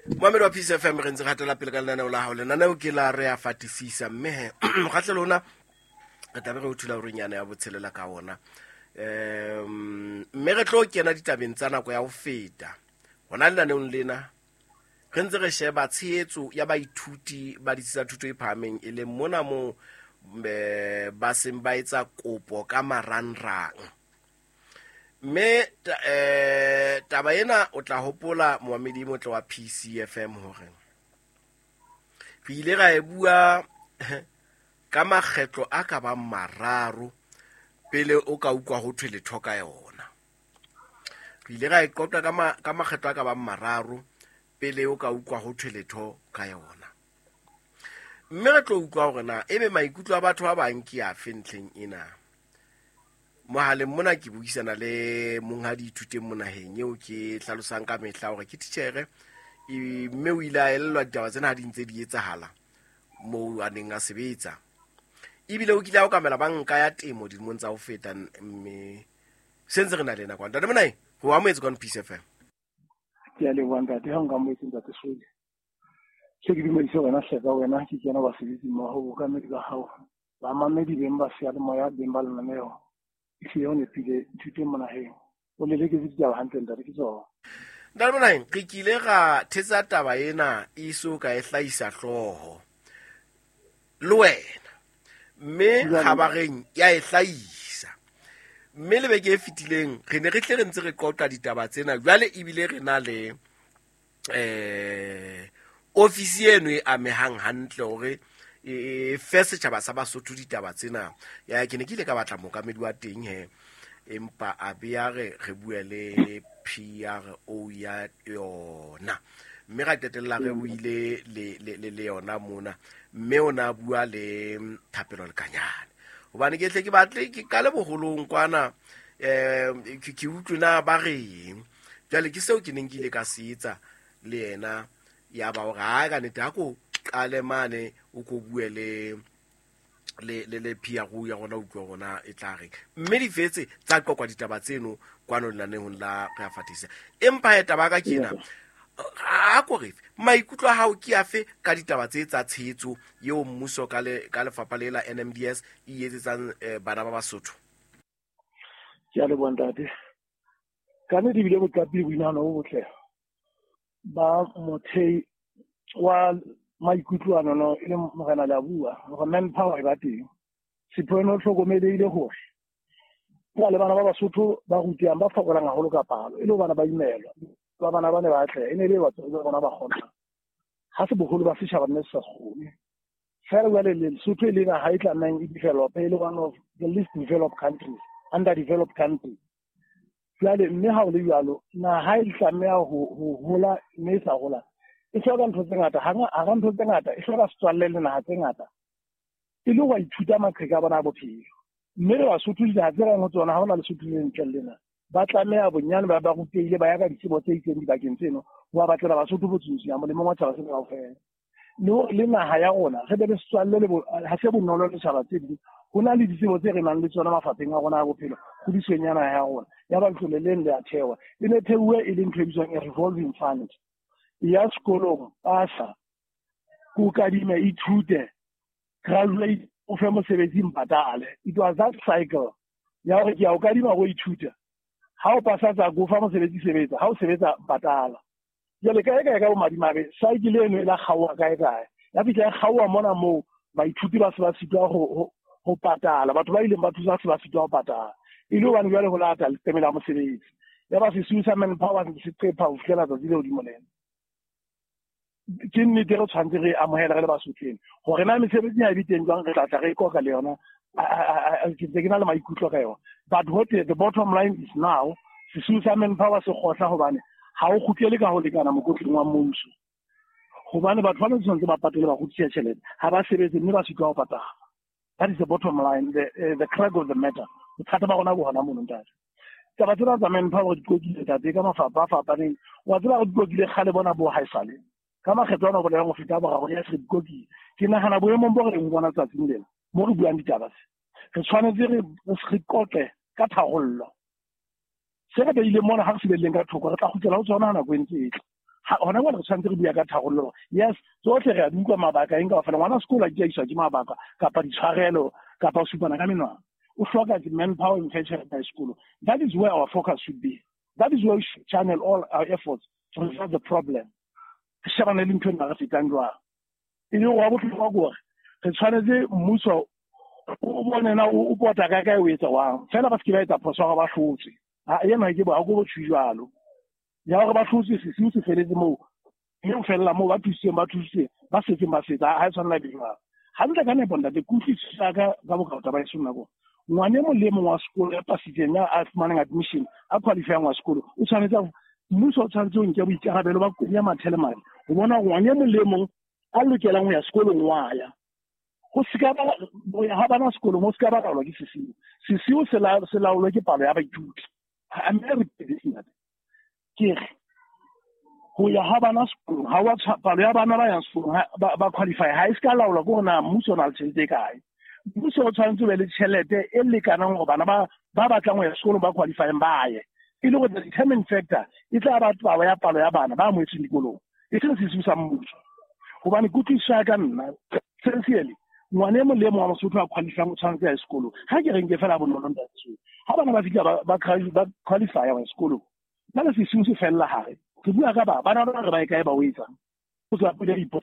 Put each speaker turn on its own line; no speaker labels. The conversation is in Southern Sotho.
Moamedi wa Peace FM, re ntse re hatela pele ka lenaneo la hao. Lenaneo ke la Re a Fatisisa, mme he mokgatlelo ona re tlabe re o thula orenyana ya botshelela ka ona, mme re tlo kena ditabeng tsa nako ya ho feta. Hona lenaneong lena re ntse re sheba tshehetso ya baithuti ba ditsi tsa thuto e phahameng, e leng mona moo ba seng ba etsa kopo ka marangrang. Mme taba ena o tla hopola, moamedi motle wa PCFM, hore re ile ra e bua ka makgetlo a ka bang mararo pele o ka utlwa ho thwe letho ka yona. Re ile ra e qoqa ka makgetlo a ka bang mararo pele o ka utlwa ho thwe letho ka yona. Mme re tlo utlwa hore na ebe maikutlo a batho ba bang ke afe ntlheng ena. Mohaleng mona ke buisana le monghadi Ithuteng Monaheng, eo ke hlalosang ka mehla hore ke titjhere, mme o ile a elellwa ditaba tsena ha di ntse di etsahala moo a neng a sebetsa. Ebile o kile a okamela banka ya temo dilemong tsa ho feta, mme se ntse re na le ena kwa. Ntate Monaheng, ho amohetse kwano Peace FM.
Ke a leboha, ntate, ha nka amohetse, ntate Sole. Se ke dumedise wena hleka wena, ke kena basebetsi mmoho, bookamedi ba hao, bamamedi beng ba seyalemoya, beng ba lenaneo. Ehlile o nepile, Ithuteng Monaheng. O leleketse ditaba hantle, ntate, ke tsona.
Ntate Monaheng, re kile ra thetsa taba ena e so ka e hlahisa hlooho le wena, mme kgabareng ya e hlahisa. Mme le beke e fetileng re ne re tle re ntse re qoqa ditaba tsena, jwale ebile re na le ofisi eno e amehang hantle hore e fe setjhaba sa Basotho ditaba tsena. Ya ke ne ke ile ka batla mookamedi wa teng he, empa a be a re re bue le PRO ya yona, mme ra qetella re buile le yona mona, mme o na bua le Thapelo Lekanyane. Hobane ke tle ke batle ke qale boholong kwana, ke utlwe na ba reng. Jwale ke seo ke neng ke ile ka se etsa le yena, ya ba hore ha ka nnete ha ko qale mane o ko bue le PRO ya rona, utlwe rona e tla reng. Mme di fetse tsa qoqwa ditaba tseno kwano lenanehong la Re a Fatisa. Empa he taba ka ke ena, a ko re maikutlo a hao ke afe ka ditaba tse tsa tshehetso eo mmuso ka lefapha le la NMDS e etsetsang bana ba Basotho?
Ke a leboha, ntate. Ka nnete ebile boqapi le boinahano bo botle ba mothei wa maikutlo a nono e leng Morena Leabua, hore manpower e ba teng. Sipho eno hlokomelehile hore ho le bana ba Basotho ba rutehang ba fokolang haholo ka palo, e le hobane ba imelwa, ba bana ba ne ba atleha, e ne e le batswadi ba bona ba kgonang. Ha se boholo ba setjhaba mme se sa kgone. Feela jwale Lesotho e le naha e tlamehang e develop, e le one of the least developed countries, underdeveloped country. Jwale mme ha o le jwalo, naha e tlameha ho hola, mme e sa hola, e hloka ntho tse ngata. Hara ntho tse ngata, e hloka setswalle le naha tse ngata, e le ho ithuta maqheka a bona a bophelo. Mme re Basotho dinaha tse reng ho tsona ha hona Lesotho le ntle le lena, ba tlameha bonyane ba rutehile, ba ya ka ditsebo tse itseng dibakeng tseno, ho ba batlela Basotho botsotsi molemong wa tjhaba sena kaofela. Le hore le naha ya rona re be le setswalle le ha se bonolo le tjhaba tse ding. Ho na le ditsebo tse re nang le tsona mafapheng a rona a bophelo, kgodisong ya naha ya rona. Ya ba letlole leng le a thewa, e ne theuwe e le ntho e bitswang a revolving fund. Ya sekolong, pasa, ko kadime, ithute, graduate, o fe mosebetsi, mpatale. It was that cycle ya hore ke ya o kadima ho ithuta, ha o pasa tsa ko fa mosebetsi, sebetsa, ha o sebetsa patala. Jwale kae kae ka bomadimabe cycle eno e la kgaoha kae kae, ya fihla e kgaoha mona moo baithuti ba se ba sitwa ho patala, batho ba ileng ba thusa se ba sitwa ho patala, e le hobane jwale ho lata leqeme la mosebetsi. Ya ba sesiu sa manpower se qepha ho fihlela tsatsi le hodimo lena. Ke nnete re tshwanetse re amohele re le Basothong hore na mesebetsi ha e be teng jwang, re tla tla re qoqa le yona. Ke ntse ke na le maikutlo ka yona, but what the bottom line is now, sesiu sa manpower se kgohla hobane ha o kgutlele ka ho lekana mokotleng wa mmuso, hobane batho ba tshwanetse ba patele ba kgutlisa tjhelete, ha ba sebetse mme ba sitwa ho patala. That is the bottom line, the crux of the matter. Bothata ba rona bo hona mono, ntate. Taba tsena tsa manpower di qokile, ntate, ka mafapha a fapaneng. Wa tseba re di qokile kgale bona bo haesale ka makgetlo ana, bolelang ho feta boraro ya se re di qokile. Ke nahana boemong bo re leng bona tsatsing lena mo re buang ditaba se, re tshwanetse re qoqe ka tharollo. Se re beileng mona ha re se behileng ka thoko, re tla kgutlela ho tsona ha nako e ntse e tla. Hona jwale re tshwanetse re bua ka tharollo. Yes, tsohle re a di utlwa mabaka eng kaofela. Ngwana sekolo a ke a iswa ke mabaka kapa ditshwarelo kapa ho supana ka menwana. O hloka manpower e tjhelete ya sekolo. That is where our focus should be. That is where we should channel all our efforts to resolve the problem. Re shebane le ntho ena re fetang jwang. E le gore wa bohlokwa ke hore re tshwanetse mmuso o bone na o pota kae kae o etsa wang. Fela ba se ke ba etsa phoso ya hore ba hlotswe. Ha ena ke bo ha ko bo jwalo. Ya hore ba hlotswe sesiu se feletse moo. Mme ho fella moo ba thusitseng ba thusitseng ba setseng ba setse ha e tshwanela be jwalo. Hantle ka nepo ntate ke utlwisisa ka bokao taba e seng nako. Ngwana e mong le e mong wa sekolo ya pasitseng ya a fumaneng admission a qualifyang wa sekolo o tshwanetse mmuso o tshwanetse o nke boikarabelo ba kenya mathele madi ho bona hore ngwana e mong le e mong a lokelang ho ya sekolong wa ya. Ho se ka ba ho ya ha bana sekolong ho se ka ba laolwa ke sesiu. Sesiu se laolwe ke palo ya baithuti. Ntate. Ke re ho ya ha bana sekolong ha wa palo ya bana ba yang sekolong ba qualify ha e se ka laolwa ke hore na mmuso o na le tjhelete e kae. Mmuso o tshwanetse o be le tjhelete e lekanang hore bana ba batlang ho ya sekolong ba qualifying ba ye. E le hore the determining factor e tla ba palo ya bana ba amohetsweng dikolong. E seng sesiu sa mmuso. Hobane kutlwisiso ya ka nna sincerely ngwana e mong le e mong wa Mosotho a qualifyang o tshwanetse a ye sekolong. Ha ke re nke fela bonolo ntate. Ha bana ba fihla ba qualify ho ya sekolong. Jwale sesiu se fella hare. Re bua ka ba bana ba re ba e kae ba o etsang. O tswa pele ipotsa